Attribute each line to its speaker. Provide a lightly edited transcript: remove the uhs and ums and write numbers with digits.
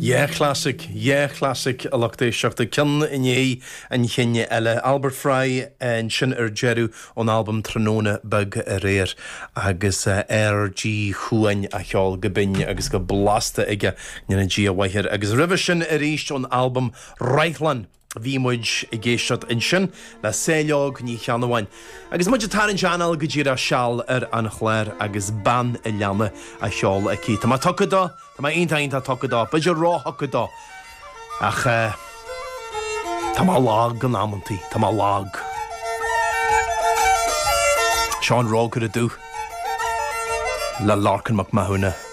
Speaker 1: Dhá chlasaic, dhá chlasaic a lucht éisteachta, ceann i ndiaidh an chinn eile. Albert Fry ansin ar deireadh ón albam Tráthnóna Beag Aréir agus R.G. Chuain á cheol go binn agus go blasta aige, go ndéana Dia a mhaith air. Agus roimhe sin arís ón albam Roithleán. Bhí muid ag éisteacht ansin le Saileog Ní Cheannabháin agus muid ag tarraingt anáil go díreach seal ar an chlár agus Bean a' Leanna á cheol aici. Tá mé tugtha dó, tá mé iontach iontach tugtha dó, b'fhéidir róthugtha dó ach tá mé lag in amantaí, tá mé lag. Seo An Rógaire Dubh le Lorcan Mac Mathúna.